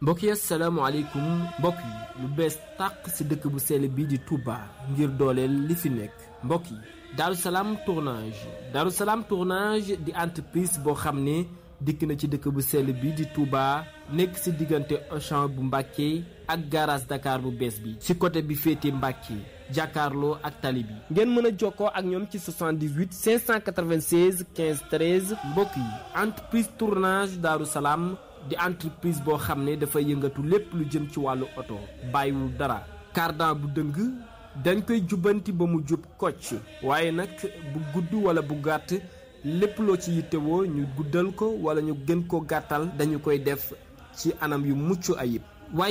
mbokk yi asalaamaaleykum mbokk yi lu bees tàq ci dëkk bu sell bi di Touba ngir dooleel li fi nekk mbokk yi Darou Salam tournage di entreprise boo xam ne dikk na ci dëkk bu sell bi di Touba nekk ci diggante Auchan bu Mbàkke ak garage Dakar bu bees bi ci côté bi féete Mbàkke jàkkaarloo ak tali bi ngeen mën a jokkoo ak ñoom ci 78 596 15 13 mbokk yi entreprise tournage Darou Salam di entreprise boo xam ne dafa yëngatu lépp lu jëm ci wàllu oto bàyyiwul dara cardan bu dëng dañ koy jubbanti ba mu jub kocc waaye nag bu gudd wala bu gàtt lépp loo ci yittewoo ñu guddal ko wala ñu gën ko gàttal dañu koy def ci anam yu mucc ayib